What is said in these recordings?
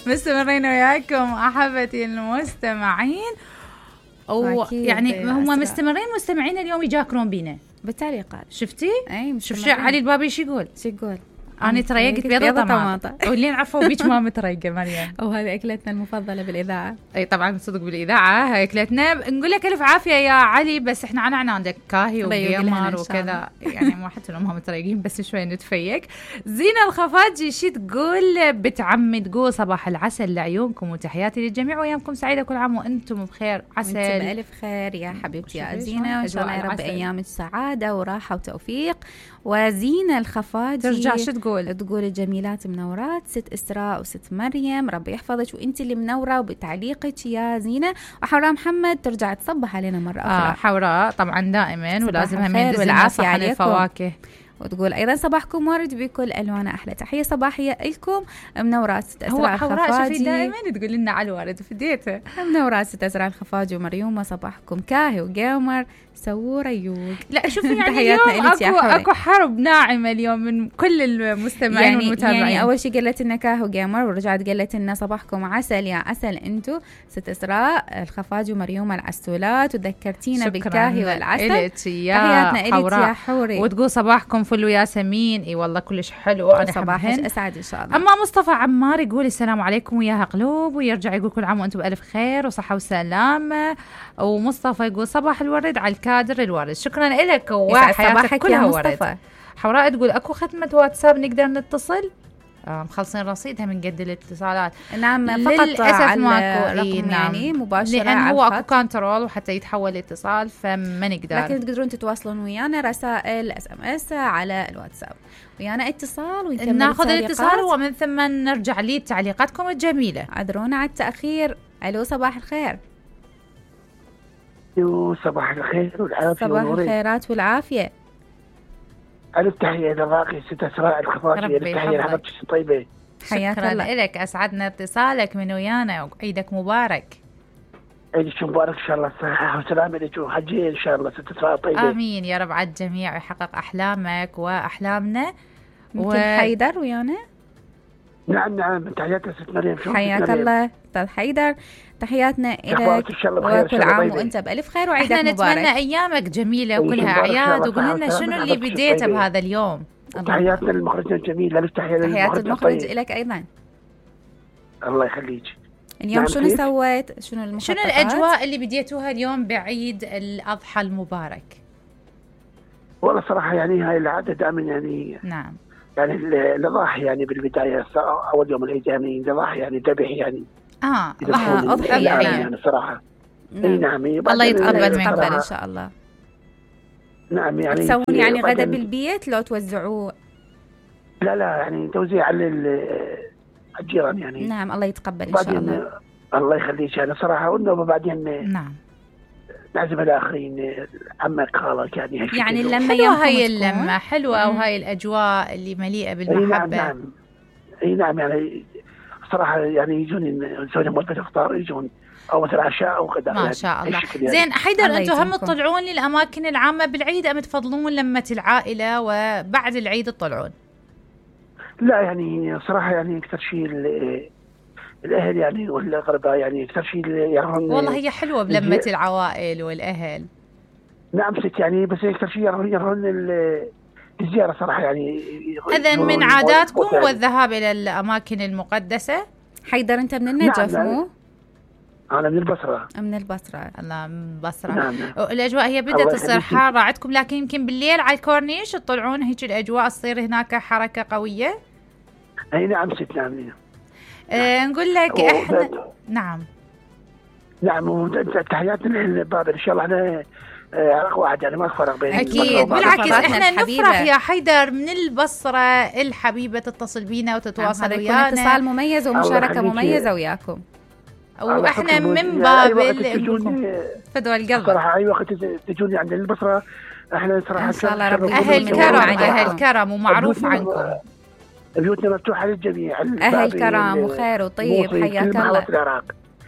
مستمرين وياكم احبتي المستمعين، يعني هم مستمرين مستمعين اليوم يجاكرون بينا بالتعليقات. شفتي؟ اي شوف علي البابي شو يقول؟ أنا تريقت بيضة طماطة واللي نعرفوا بيك ما متريقة مريم. وهذه أكلتنا المفضلة بالإذاعة. أي طبعا صدق بالإذاعة هاي أكلتنا. نقول لك ألف عافية يا علي، بس إحنا عندك كاهي وجيمر وكذا يعني ما حتى لو ما متريقين بس شوي نتفيق. زينة الخفاجي شي تقول بتعمي تقول صباح العسل لعيونكم وتحياتي للجميع وأيامكم سعيدة كل عام وأنتم بخير. عسل بألف خير يا حبيبتي يا زينة، وإن شاء الله يا رب أيامك سعادة وراحة وتوفيق. وزينة الخفاجي ترجع شو تقول الجميلات منورات، ست إسراء وست مريم ربي يحفظك وانت اللي منورة وبتعليقك يا زينة. وحوراء محمد ترجع تصبح علينا مرة أخرى. حوراء طبعا دائما ولازم هم يدزلنا صحن الفواكه. وتقول أيضا صباحكم ورد بكل ألوانه. أحلى تحية صباحية لكم منورات ست أسراء الخفاجي. هو حوراء شوفي دائما تقول لنا على الورد فديته. منورات ست أسراء الخفاجي ومريومة صباحكم كاهي وجيمر سووا ريوق. لا شوفي يعني اليوم أكو حرب ناعمة اليوم من كل المستمعين والمتابعين. يعني أول شيء قالت لنا كاهو جيمر ورجعت قالت لنا صباحكم عسل يا عسل أنتو ست إسراء الخفاجي ومريومة العسولات وذكرتينا بالكاهي والعسل. تحياتنا إليك يا حوري. وتقول صباحكم فل وياسمين. اي والله كلش حلو. أنا صباحك أسعد إن شاء الله. أما مصطفى عمار يقول السلام عليكم وياها قلوب، ويرجع يقول كل عام وأنتم بألف خير وصحة وسلامة. ومصطفى يقول صباح الورد على الكادر الورد. شكرا لك وحياتك كلها ورد. حوراء تقول اكو خدمة واتساب نقدر نتصل؟ مخلصين رصيدها من قد الاتصالات. نعم فقط للأسف ماكو رقم يعني مباشرة لأن هو اكو كنترول وحتى يتحول الاتصال فما نقدر، لكن تقدرون تتواصلون ويانا رسائل SMS على الواتساب ويانا اتصال ونكمل ناخذ الاتصال ومن ثم نرجع لي تعليقاتكم الجميلة. عذرونا على التأخير. ألو صباح الخير. صباح الخير والعافية. صباح الخيرات والعافية. ألف تحية للراقي ست أسراء الخفاجي. ألف تحية لحضرتك طيبة. شكرا لك أسعدنا اتصالك من ويانا وعيدك مبارك. عيدك مبارك إن شاء الله صحة وسلامة لك وحجية إن شاء الله ست أسراء طيبة. آمين يا رب على الجميع ويحقق أحلامك وأحلامنا. مثل حيدر ويانا. نعم تحياتنا ست مريم. حياك الله أستاذ حيدر. تحياتنا إليك وكل عام وأنت بألف خير وعيدك مبارك. احنا نتمنى أيامك جميلة وكلها أعياد وقول لنا شنو اللي بديته بهذا اليوم. تحياتنا للمخرجة الجميلة. ألف تحية تحيات المخرج إليك أيضا. الله يخليك. اليوم شنو سويت؟ شنو الأجواء اللي بديتوها اليوم بعيد الأضحى المبارك؟ والله صراحة يعني هاي العادة دائما يعني نعم يعني الأضاحي يعني بالبداية أول يوم العيد يعني الأضاحي يعني ذبح يعني أضحى يعني صراحة. نعم الله يتقبل منك إن شاء الله. نعم يعني تسوون يعني غدا بالبيت لو توزعوه؟ لا يعني توزيع على الجيران يعني. نعم الله يتقبل إن شاء الله. الله يخليك يعني صراحة. وبعدين نعم نعزم الآخرين عمك خالك يعني اللمة حلوة. هاي اللمة حلوة وهاي الأجواء اللي مليئة بالمحبة. أي نعم يعني صراحة يعني يجون نسوي لهم وجبة إفطار يجون أو مثلا عشاء أو غداء. ما شاء الله يعني. زين حيدر أنتم هم تطلعون للأماكن العامة بالعيد أم تفضلون لمة العائلة وبعد العيد تطلعون؟ لا يعني صراحة يعني أكثر شيء الأهل يعني والأقرباء يعني أكثر شيء يرون. والله هي حلوة بلمة العوائل والأهل. نعم ست يعني بس أكثر شيء يرون الزيارة صراحة يعني. إذن من عاداتكم يعني والذهاب إلى الأماكن المقدسة؟ حيدر أنت من النجف مو؟ أنا من البصرة. من البصرة. الله من البصرة. نعم. الأجواء هي بدأت تصير حارة عندكم لكن يمكن بالليل على الكورنيش تطلعون هيك الأجواء تصير هناك حركة قوية. أي نعم ست نعم. نقول لك إحنا نعم تحياتنا للباب إن شاء الله. أنا عرق واحد يعني ما فرق بين. أكيد بالعكس إحنا نفرح يا حيدر من البصرة الحبيبة تتصل بينا وتتواصل ويانا. اتصال مميز ومشاركة مميزة وياكم. وإحنا من باب فدوى القلب صراحة. أي وقت تجوني عند البصرة إحنا صراحة أهل كرم ومعروف عنكم. بيوتنا مفتوحة للجميع. أهل كرم وخير وطيب. حياك الله.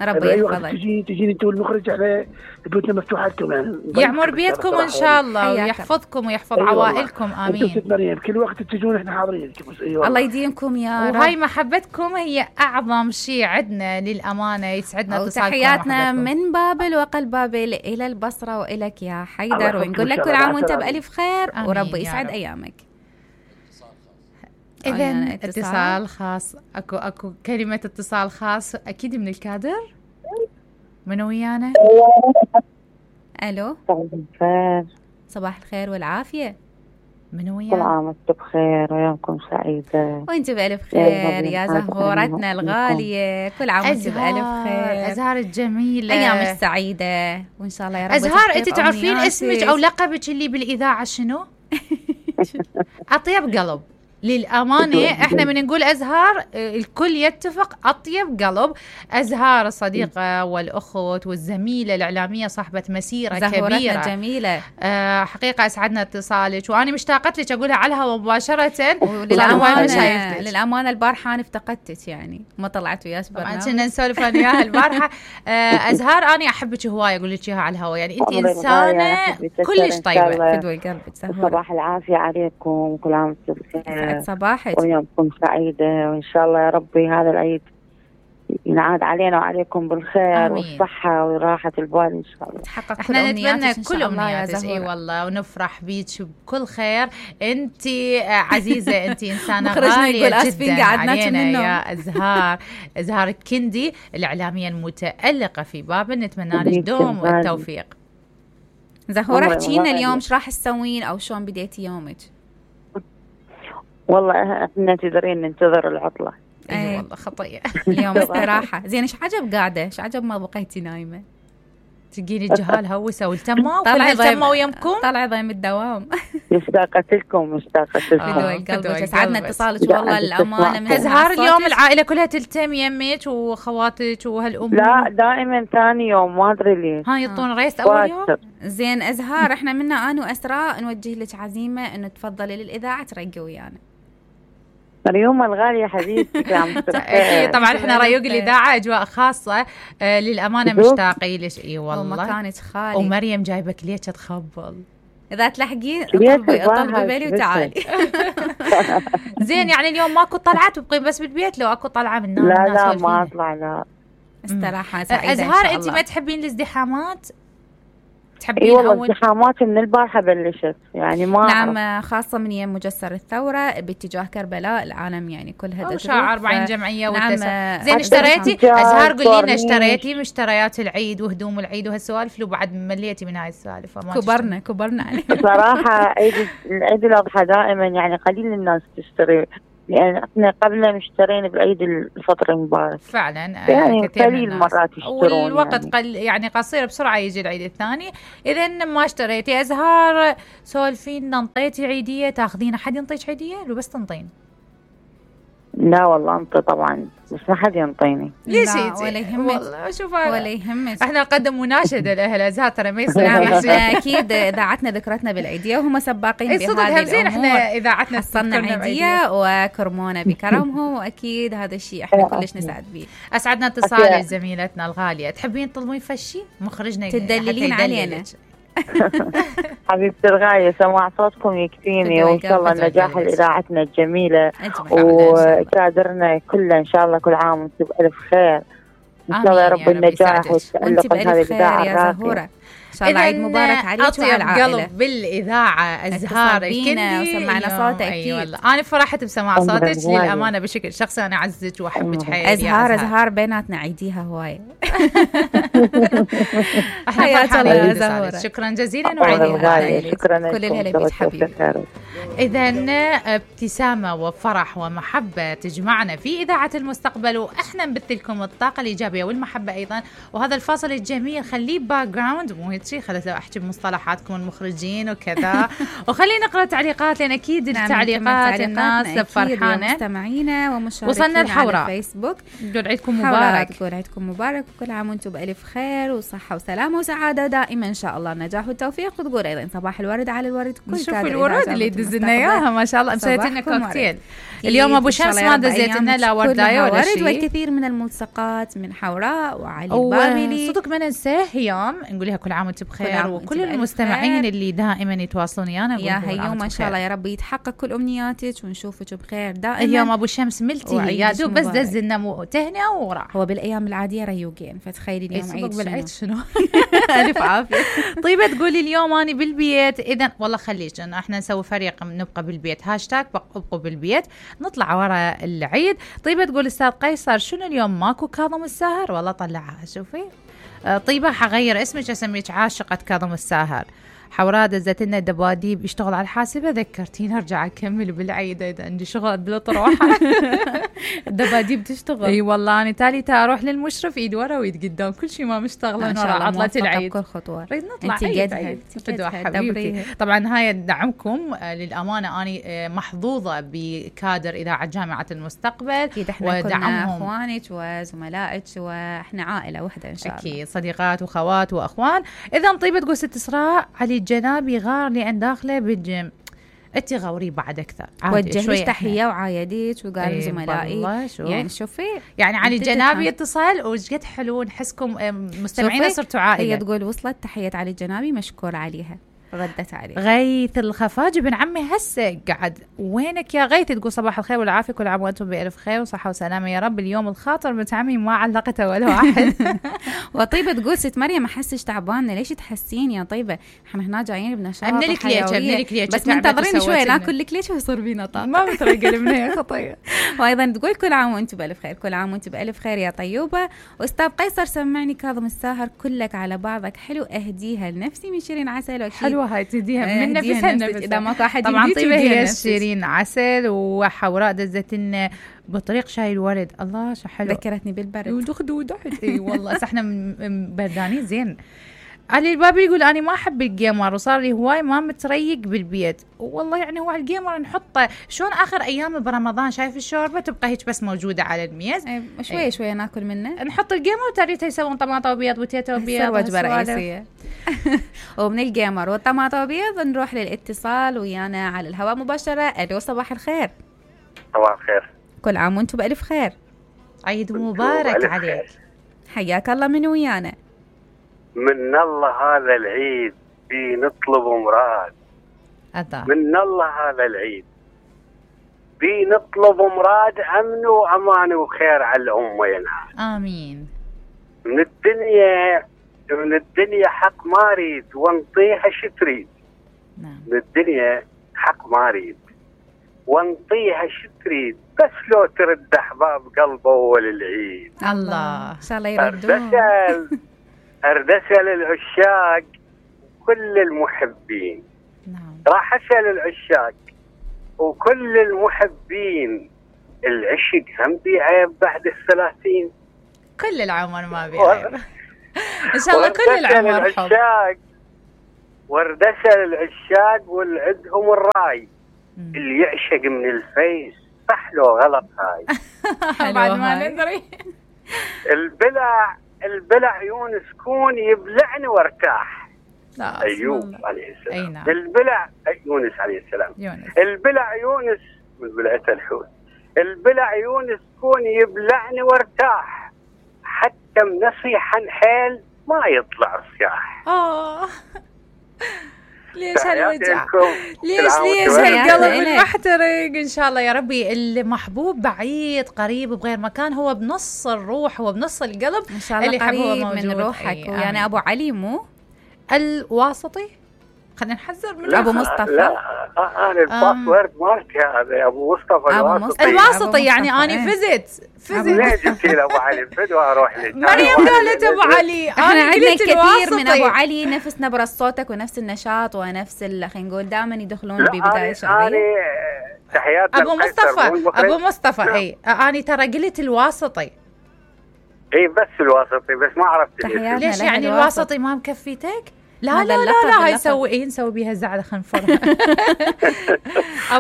ربي يحفظك. تجيني انت والمخرج، احنا بيوتنا مفتوحه لكم يعني. يعمر بيتكم ان شاء الله ويحفظكم ويحفظ عوائلكم. امين. انتم ست مريم كل وقت تجون احنا حاضرين. الله يديمكم يا رب. وهاي محبتكم هي اعظم شيء عندنا للامانه. يسعدنا اتصالكم. تحياتنا من بابل وقلب بابل الى البصره والك يا حيدر، ونقول لك كل عام وانت بالف خير وربي يسعد ايامك. إذن اتصال خاص. اكو كلمة اتصال خاص أكيد من الكادر. منو ويانا؟ ألو. صباح الخير. صباح الخير والعافية. منو ويانا؟ كل عام وانتم بخير ويومكم سعيدة. وانت بألف خير يا زهورتنا الغالية. كل عام وانت بألف خير. أزهار الجميلة. أيامك سعيدة وإن شاء الله يا رب. أزهار أنت تعرفين اسمك أو لقبك اللي بالإذاعة شنو؟ أطيب قلب. للأمانة احنا من نقول أزهار الكل يتفق أطيب قلب. أزهار الصديقة والأخت والزميلة الإعلامية صاحبة مسيرة كبيرة جميلة. حقيقة أسعدنا اتصالك وأنا مشتاقت لك أقولها على الهواء مباشرة. للأمانة البارحة أنا افتقدتك يعني ما طلعت وياك برنامج. طبعا كنا نسولف أنا وياها البارحة. أزهار أنا أحبك هواية أقول لك إياها على الهواء يعني أنت إنسانة كلش طيبة. فدوي قلبك زهور. صباح العافية عليكم. كل عام وانتم بخير. صباحك ويومكم سعيدة وإن شاء الله يا ربي هذا العيد ينعاد علينا وعليكم بالخير والصحة وراحة البال إن شاء الله. تحقق احنا نتمنى كل أمنياتك. اي والله ونفرح بيك بكل خير. انت عزيزة، انت إنسانة غالية جدا علينا يا أزهار. أزهار الكندي الإعلامية المتألقة في بابل. نتمنى لك دوم والتوفيق. زهورة احكينا اليوم ايش راح تسوين او شلون بديتي يومك؟ والله احنا تدرين ننتظر العطلة. اي والله خطية. اليوم استراحة. زين ايش عجب قاعدة؟ ايش عجب ما بقيتي نايمة؟ تجيني الجهال هوسة والتمة وكلها التمة ويمكم. طلعي ضيم الدوام. مشتاقة لكم. بدوي قلبك. سعدنا اتصالك والله الأمانة. من أزهار اليوم العائلة كلها تلتم يمك وخواتك وهالأمور؟ لا دائما ثاني يوم ما أدري ليش. ها يطون ريست أول يوم. زين أزهار احنا منا أنا وأسراء نوجه لك عزيمة إنه تفضلي للإذاعة ترقي ويانا. مريوم الغالية حبيبتي. طبعا احنا ريوق الإذاعة أجواء خاصة للأمانة مشتاقين لش. اي والله ومكانك خالي. ومريم جايبك ليش تخبل إذا تلحقين طلبي بالي وتعالي. زين يعني اليوم ماكو طلعات وبقين بس بالبيت لو أكو طلعة من الناس؟ لا ما أطلع. لا استراحة سعيدة. أزهار أنت ما تحبين الازدحامات؟ تحبين والله الازدحامات من البارحة بلشت يعني ما نعم خاصة من يوم مجسر الثورة باتجاه كربلاء العالم يعني كلها وشارع 40 جمعية والتسع. زين اشتريتي أزهار قولي لنا اشتريتي مشتريات العيد وهدوم العيد وهالسوالف لو بعد مليتي من هاي السوالف؟ كبرنا عليه. صراحة عيد الأضحى دائما يعني قليل الناس تشتري يعني احنا قبل اشترينا بالعيد الفطر المبارك فعلا يعني قليل مرات يشترون والوقت يعني قصير بسرعة يجي العيد الثاني. إذا ما اشتريتي أزهار سولفين ننطيتي عيدية تاخذين أحد ينطيك عيدية لو بس تنطين؟ لا والله انت طبعا بس ما حد ينطيني. ليش ولا يهمك والله شوف ولا يهمك. احنا نقدم مناشده لاهل ازهار ترى ما يصير. اكيد اذاعتنا ذكرتنا بالعيديه وهم سباقين بهذه الامور. احنا اذاعتنا حصلنا عيديه وكرمونا بكرمهم واكيد هذا الشيء احنا كلش نسعد به. اسعدنا اتصالك زميلتنا الغاليه. تحبين تطلبين فشي مخرجنا تدللين علينا؟ حبيبتي الغاية سماع صوتكم يكفيني وإن شاء الله نجاح إذاعتنا الجميلة وكادرنا كله إن شاء الله كل عام وانتم بألف خير إن شاء الله يا رب النجاح والتألق بهذه الإذاعة الراقية. إن شاء الله عيد مبارك عليك وعلى العائلة. قلب بالإذاعة أزهار الكندي وسمعنا صوتك أكيد. والله أنا فرحت بسماع صوتك للأمانة بشكل شخصي. أنا أعزك وأحبك حيل أزهار بيناتنا عيديها هواية. احنا فرحانين بزهورة. شكرا جزيلا وعيدي شكرا كل الهلا بيك حبيبي. إذا ابتسامة وفرح ومحبة تجمعنا في إذاعة المستقبل وإحنا نبث لكم الطاقة الإيجابية والمحبة أيضا. وهذا الفاصل الجميل خليه باك جراوند مو هيك شيء خلت لو احكي بمصطلحاتكم المخرجين وكذا. وخلينا نقرا تعليقات لان اكيد التعليقات الناس فرحانه. مستمعينا ومشاركينا وصلنا الحوراء على الفيسبوك نقول عيدكم مبارك. تقول عيدكم مبارك وكل عام وانتم بالف خير وصحه وسلامه وسعاده دائما ان شاء الله، نجاح والتوفيق. وتقول ايضا صباح الورد على الورد. كل شوفوا الورود اللي دزلنا اياها ما شاء الله، مسويت لنا كوكتيل اليوم. ابو شمس ما دزيت لنا لا وردايه ولا شيء، والكثير من الملصقات من حوراء وعلي البابلي. صدق ما ننساه هيام، نقول لها كل عام وانت بخير، وكل المستمعين اللي دائما يتواصلون ويانا يا هيوم ان شاء الله يا رب يتحقق كل امنياتك ونشوفك بخير دائما. اليوم ابو شمس ملتي يا دوب بس دزلنا تهنئه وراح. هو بالايام العاديه ريوقين، فتخيلي اليوم عيد بالعيد شنو. الف عافيه. طيبه تقولي اليوم اني بالبيت، اذا والله خليش انه احنا نسوي فريق نبقى بالبيت، هاشتاج ابقوا بالبيت، نطلع ورا العيد. طيبه تقول استاذ قيصر شنو اليوم ماكو كاظم الساهر؟ والله طلعها شوفي. طيبه حغير اسمك اسميك عاشقه كاظم الساهر. حوراء دزت لنا دباديب يشتغل على الحاسبه، ذكرتيني ارجع اكمل بالعيد، اذا عندي شغل بلطروحه. الدباديب تشتغل. اي والله انا تالي اروح للمشرف ايد ورا وايد قدام، كل شيء ما مشتغله ورا عطله العيد. كل خطوه نريد نطلع عيد فدوى حبيبتي. طبعا هاي دعمكم للامانه، انا محظوظه بكادر اذاعه جامعه المستقبل، اكيد احنا كلنا اخوانك وزملائك واحنا عائله واحده ان شاء الله. اكيد صديقات وخوات واخوان. اذا طيبه تقول ست اسراء علي الجنابي غار لأن داخله بالجيم، انت غوري بعد اكثر. وجه تحيه وعايديك وقال زملائي يعني شوفي يعني علي الجنابي اتصل وش قد حلو نحسكم مستمعين صرتوا عائله. هي تقول وصلت تحيه علي الجنابي مشكور عليها، ردت عليه. غيث الخفاجي بن عمي هسه قعد، وينك يا غيث؟ تقول صباح الخير والعافيه، كل عام وانتم بألف خير وصحه وسلامه يا رب. اليوم الخاطر بنت عمي ما علقته ولا واحد. وطيبه تقول ست مريم ما احسش تعبانه، ليش تحسين يا طيبه؟ احنا هنا جايين بنشاط ابني لك ليش بس منتظرين شوي ناكل لك ليش ويصير بينا طاقه. ما مترقل منها يا خطيه. وايضا تقول كل عام وانتم بألف خير، كل عام وانتم بألف خير يا طيوبه. واستاذ قيصر سمعني كاظم الساهر كلك على بعضك حلو، اهديها لنفسي من شيرين عسل. واكيد حلوه هاي تهديها من نفسها اذا ماكو احد طبعا. طيبه هي شيرين عسل، وحوراء دزت لنا بطريق شاي الورد. الله شو حلو، ذكرتني بالبرد ودخدت. اي والله احنا بردانين زين. علي البابي يقول أنا ما أحب الجيمر وصار لي هواي ما متريق بالبيت. والله يعني هو الجيمر نحطه شلون آخر أيام برمضان، شايف الشوربة تبقى هيك بس موجودة على الميز، شوية شوية ناكل منه، نحط الجيمر وتريته يسوون طماطة بيض وتيتا بيض وجبة رئيسية. ومن الجيمر والطماطة بيض نروح للاتصال ويانا على الهواء مباشرة. ألو صباح الخير. صباح الخير، كل عام وانتم بألف خير، عيد مبارك عليك. حياك الله. من ويانا؟ من الله هذا العيد في نطلب مراد، من الله هذا العيد في نطلب مراد، أمن وأمان وخير على الأمة ينعاد. آمين. من الدنيا حق ما أريد ونطيها شتريد. نعم. من الدنيا حق ما أريد ونطيها شتريد، بس لو ترد أحباب قلبه أول العيد. الله إن شاء الله يردون. أردسل العشاق وكل المحبين. نعم. راح أسأل العشاق وكل المحبين، العشق هم بيعيب بعد 30؟ كل العمر ما بيعيب. إن شاء الله كل العمر حب. واردسل العشاق والعدهم الراي، اللي يعشق من الفيس صح له غلط هاي. بعد ما ندري. البلع يونس كون يبلعني وارتاح. أيوب عليه السلام. نعم. البلع يونس عليه السلام. البلع يونس من بلعته الحوت. البلع يونس كون يبلعني وارتاح، حتى منصيحا حيل ما يطلع صياح. ليش هالوجع؟ ليش هالقلب المحترق؟ ان شاء الله يا ربي المحبوب بعيد قريب بغير مكان، هو بنص الروح، هو بنص القلب ان شاء الله قريب من روحك. يعني ابو علي مو الواسطي، خلينا نحذر من ابو مصطفى. لا انا الباسورد مالتي هذا ابو مصطفى الواسطي. يعني انا فزت ليه جبتي له ابو علي فدوى اروح لك مريم قالت ابو علي. احنا عندنا كثير من ابو علي نفس نبره صوتك ونفس النشاط ونفس خلينا نقول دائما يدخلون ببدايه شهريه. تحياتنا ابو مصطفى اي انا ترى قلت الواسطي. اي بس الواسطي، بس ما عرفت ليش يعني الواسطي ما مكفيتك؟ لا لا لا هاي نسوي بيها زعلة خنفرها.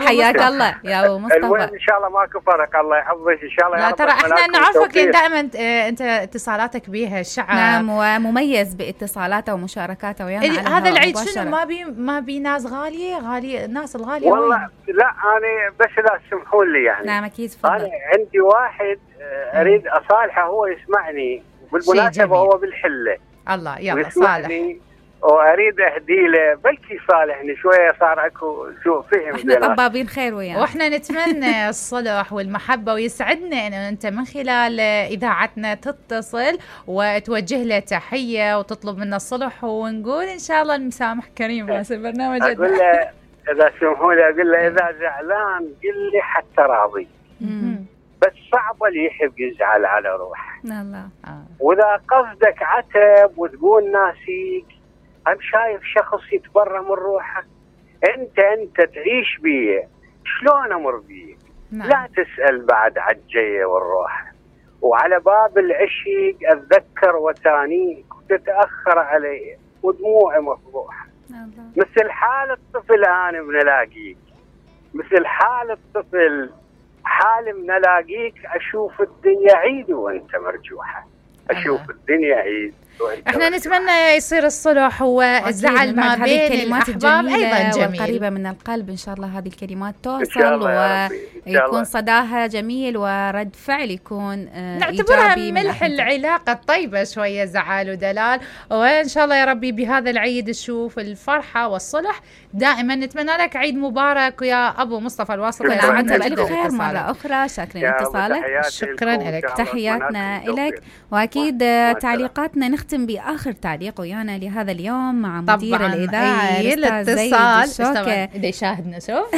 حياك الله يا ابو مصطفى. ان شاء الله ماكو فرق، الله يحفظك ان شاء الله. لا ترى احنا نعرفك دائما انت اتصالاتك بيها الشعب. نعم ومميز باتصالاته ومشاركاته ويانا. هذا العيد شنو ما بي ناس غاليه الناس الغاليه والله وين؟ لا انا بس لا تسمحوا لي يعني. نعم اكيد تفضل. انا عندي واحد اريد اصالحه، هو يسمعني بالمناسبه، هو بالحله. الله يلا صالح. واريد اهدي له بلكي صالحني شويه، صار اكو فهم. احنا طبابين خير وياك، واحنا نتمنى الصلح والمحبه، ويسعدنا انه انت من خلال اذاعتنا تتصل وتوجه له تحيه وتطلب منا الصلح، ونقول ان شاء الله المسامح كريم راس البرنامج. اقول له اذا سمحوا لي، اقول له اذا زعلان قل لي حتى راضي، بس صعب اللي يحب يزعل على روحه. الله. واذا قصدك عتب وتقول ناسيك، أنا شايف شخص يتبرى من روحه، أنت تعيش بيه، شلون أمر بيه؟ لا تسأل بعد عالجية والروح. وعلى باب العشق أتذكر وتانيك وتتأخر علي ودموعي مفضوحة. مثل حال الطفل أنا بنلاقيك، مثل حال الطفل حال بنلاقيك، أشوف الدنيا عيد وأنت مرجوحة، أشوف الدنيا عيد. احنا نتمنى يصير الصلح والزعل ما بين الكلمات الاحباب ايضا جميل والقريبه من القلب. ان شاء الله هذه الكلمات توصل ويكون صداها جميل ورد فعل يكون نعتبرها ملح العلاقه الطيبه، شويه زعل ودلال. وان شاء الله يا ربي بهذا العيد تشوف الفرحه والصلح دائما. نتمنى لك عيد مبارك يا ابو مصطفى الواسطه. وانت بالف خير مره اخرى. شاكرين اتصالك. شكرا لك. تحياتنا لك. واكيد تعليقاتنا نختم بآخر تعليق ويانا لهذا اليوم مع مدير الإذاعة الاتصال اللي يشاهدنا. شوف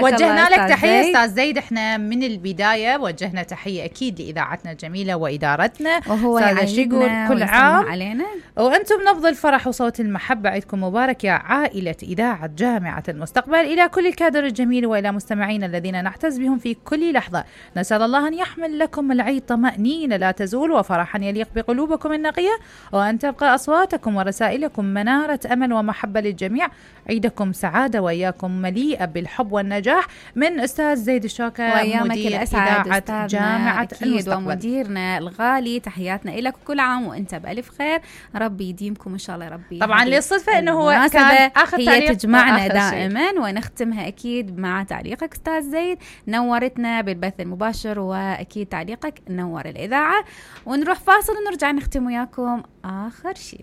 وجهنا لك تحية أستاذ زيد. احنا من البداية وجهنا تحية أكيد لإذاعتنا الجميلة وإدارتنا، وهو يعيدنا كل عام علينا وأنتم نبض الفرح وصوت المحبة. عيدكم مبارك يا عائلة إذاعة جامعة المستقبل. إلى كل الكادر الجميل وإلى مستمعين الذين نعتز بهم في كل لحظة، نسأل الله أن يحمل لكم العيد طمأنينة لا تزول وفرحا يليق بقلوبكم النقية، وأن تبقى أصواتكم ورسائلكم منارة أمل ومحبة للجميع. عيدكم سعادة وإياكم مليئة بالحب والنجاح من أستاذ زيد الشوكة مدير إذاعة جامعة المستقبل ومديرنا الغالي. تحياتنا لك كل عام وأنت بألف خير، ربي يديمكم إن شاء الله. ربي طبعا للصدفة أنه هو كان آخر هي تجمعنا دائما ونختمها أكيد مع تعليقك أستاذ زيد. نورتنا بالبث المباشر وأكيد تعليقك نور الإذاعة. ونروح فاصل ونرجع نختم وياكم آخر شيء.